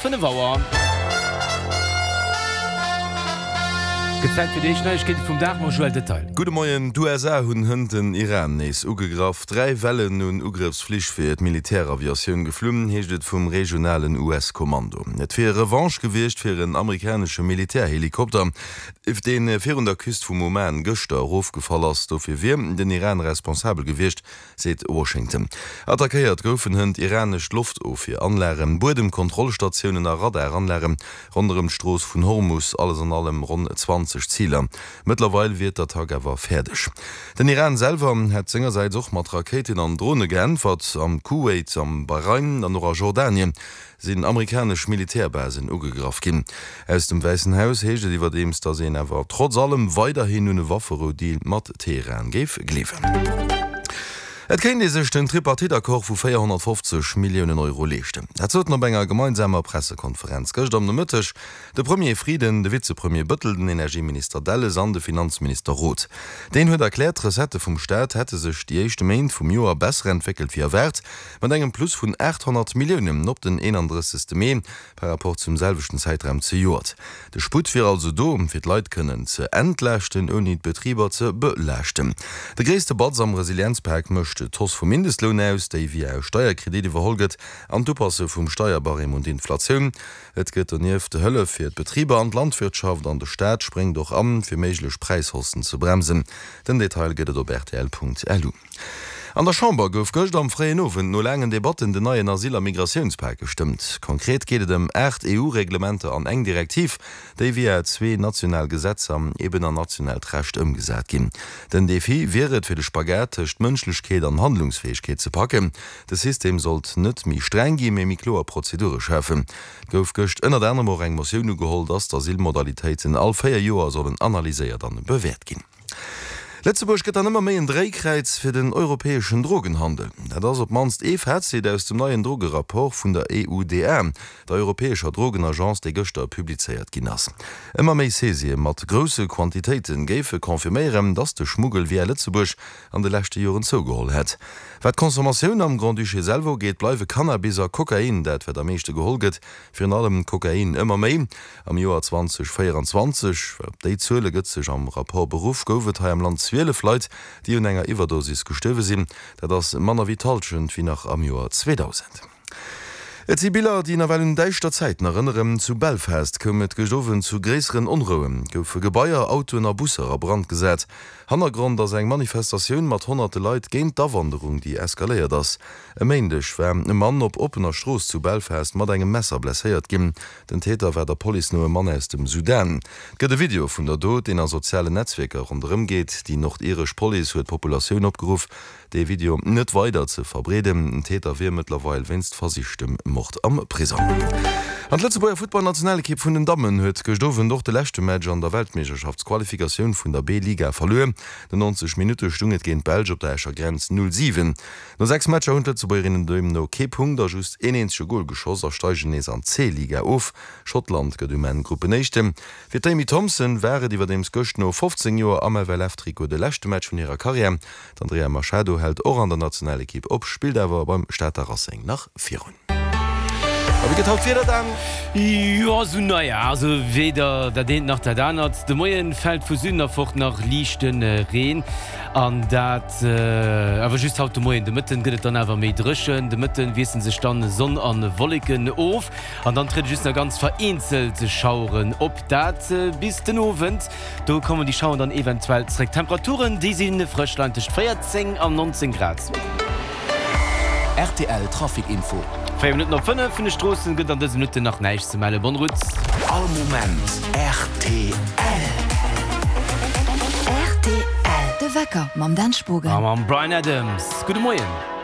5 Auer. Gëtt Zäit fir déi éischt Neiegkeete vum Dag mam Joël Detail. Gudde Moien. D'USA hunn hënt den Iran nees ugegraff. 3 Wellen un Ugrëffsflich wier d'Militäraviatioun geflunn, heescht et vum regionalen US-Kommando. Et wier Revanche gewiescht fir en amerikanesche Militärhelikopter, dee virun der Küst vum Oman gëschter erofgefall ass. Dofir wier den Iran responsabel gewiescht. seet Washington. Attackéiert goufen hënt iranesch Loftofwieranlagen, Buedemkontrollstatiounen a Radaranlage ronderëm d'Strooss vun Hormus, alles an allem ronn 20 Ziler. Mëttlerweil wier d'Attack awer fäerdeg. Den Iran selwer hätt sengersäits och mat Rakéiten an Drone geäntwert. Am Kuwait, am Bahrain an och a Jordanien sinn amerikanesch Militärbasen ugegraff ginn. Aus dem Wäissen Haus heescht et iwwerdeems, datt een awer trotz allem weiderhin un e Wafferou-Deal mat Teheran géif gleewen. Et kéint ee sech den Tripartite-Accord vu 450 Milliounen Euro leeschten. Dat soten op enger gemeinsamer Pressekonferenz gëscht am Nomëtteg de Premier Frieden, de Vizepremier Bëttel, den Energieminister Delles an de Finanzminister Roth. Deen huet erkläert, d'Recettë vum Staat hätte sech déi éischte Méint vum Joer besser entwéckelt wéi erwaart. Mat engem Plus vun 800 Milliounen op den 31. Mee par rapport zum selwechten Zäitraum zejoert. De Sputt wier also do, fir d'Leit kënnen ze entlaaschten, ouni d'Betriber ze belaaschten. De gréisste Batz am Resilienzpak mécht d'Hausse vum Mindestloun aus, déi via e Steierkredit iwwerholl gëtt, an d'Upasse vum Steierbarème un d'Inflatioun. Et gëtt donieft Hëllef fir d'Betriber an d'Landwirtschaft an de Staat spréngt och an, fir méiglech Präishaussen ze bremsen. Den Detail gëtt et op rtl.lu. An der Chamber gouf gëscht am fréien Owend no laangen Debatten den neien Asyl a Migratiounspak gestëmmt. Konkret geet et ëm 8 EU-Reglementer an eng Direktiv, déi via zwee national Gesetzer eben an nationaalt Recht ëmgesat ginn. Den Defi wier et, fir de Spagat tëscht Mënschlechkeet an Handlungsfäegkeet ze packen. De System sollt net méi streng ginn, mee méi kloer Prozedure schafen. Et gouf gëscht ënnert anerem och eng Motioun ugeholl, dass d'Asylmodalitéiten all 4 Joer sollen analyséiert an bewäert ginn. Lëtzebuerg gëtt dann ëmmer méi en Dréikräiz fir den europäeschen Drogenhandel. Dat ass op d'mannst ee Fazit aus dem neien Drogerapport vun der EUDA, der europäescher Drogenagence, dee gëschter publizéiert ginn ass. Ëmmer méi Saisië mat grousse Quantitéite géife confirméieren, datt de Schmuggel via Lëtzebuerg an de leschte Joren zougeholl hätt. Wat d'Consommatioun am Grand-Duché selwer ugeet, bleiwe Cannabis a Kokain dat, wat am meeschte geholl gëtt. Virun allem Kokain ëmmer méi. Am Joer 2024, well op déi Zuele gëtt sech am Rapport beruff, gouf et hei am Land 12 Leit, déi un enger Iwwerdosis gestuerwe sinn. Dat ass manner wéi d'Hallschent wéi nach am Joer 2000. Et si Biller, déi nawell un däischter Zäiten erënneren. Zu Belfast koum et gëscht Owend zu gréisseren Onrouen, goufe Gebaier, Autoen a Busser a Brand gesat. Hannergrond ass eng Manifestatioun mat honnerte Leit géint d'Awanderung, déi eskaléiert ass. E Méindeg war e Mann op oppener Strooss zu Belfast mat engem Messer blesséiert ginn. Den Täter war der Police no e Mann aus dem Sudan. Et gëtt e Video vun der Dot, deen a sozialen Netzwierker ronderëm geet. Déi nordiresch Police huet d'Populatioun opgeruff, dee Video net weider ze verbreeden. Den Täter wier mëttlerweil wéinst versichtem Mord am Prisong. An d'Lëtzebuerger Futtballnationalekipp vun den Dammen huet gëscht Owend och de leschte Match an der Weltmeeschterschaftsqualifikatioun vun der B-Liga verluer. No 90 Minutte stung et géint d'Belsch op der Escher Grenz 0, 7. No 6 Matcher hunn d'Lëtzebuergerinnen deemno kee Punkt a just een eenzege Gol geschoss a steigen nees an d'C-Liga of. Schottland gëtt um Enn Gruppenéischten. Fir d'Amy Thompson war et iwwerdeems gëscht no 15 Joer am FLF-Trikot de leschte Match vun hirer Karriär. D'Andrea Machado hält och an der Nationalekipp op, spillt awer beim Stater Racing nach virun. A wéi gëtt haut d'Wieder dann? Jo, esou naja, also weder dat eent nach dat anert. De Moien fält vu Süden erfort nach liichte Reen an dat awer just haut de Moien. De Mëtten gëtt et dann awer méi dréchen. De Mëtten wiessele sech dann Sonn an Wolleken of an dann triede just nach ganz vereenzelt Schaueren op, dat bis den Owend. Do kommen déi Schaueren dann eventuell zréck. D'Temperaturen, déi si frësch, leien tëscht 14 an 19 Grad. Rtl Trafic Info. 4 Minutten op 5, Vun de Stroossen gëtt an dëse Minutten nach näischt ze mellen. Bonne route. All Moment rtl. Rtl, De Wecker mam Dan Spogen. A mam Bryan Adams. Gudde Moien.